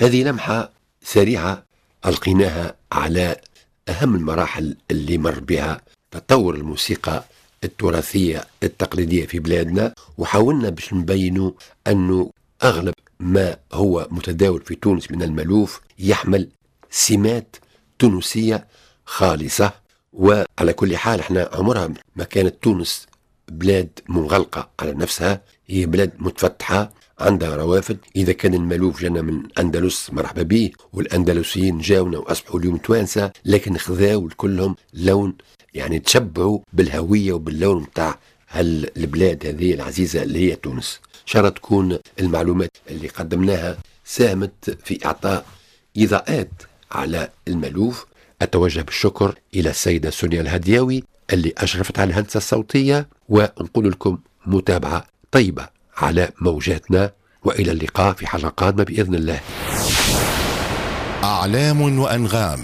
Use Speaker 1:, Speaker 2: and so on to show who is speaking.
Speaker 1: هذه لمحة سريعة ألقيناها على أهم المراحل اللي مر بها تطور الموسيقى التراثية التقليدية في بلادنا، وحاولنا باش نبينوا أنه أغلب ما هو متداول في تونس من المالوف يحمل سمات تونسية خالصة. وعلى كل حال احنا عمرها ما كانت تونس بلاد منغلقة على نفسها، هي بلاد متفتحة عندها روافد. إذا كان المالوف جانا من أندلس مرحبا به، والأندلسيين جاونا وأصبحوا اليوم توانسة، لكن خذاو كلهم لون، يعني تشبعوا بالهوية وباللون متاع هالبلاد هذه العزيزة اللي هي تونس. إن شاء الله تكون المعلومات اللي قدمناها ساهمت في إعطاء إضاءات على المالوف. أتوجه بالشكر إلى السيدة سونيا الهدياوي اللي أشرفت على الهندسة الصوتية، ونقول لكم متابعة طيبة على موجاتنا، وإلى اللقاء في حلقة قادمة بإذن الله.
Speaker 2: أعلام وأنغام.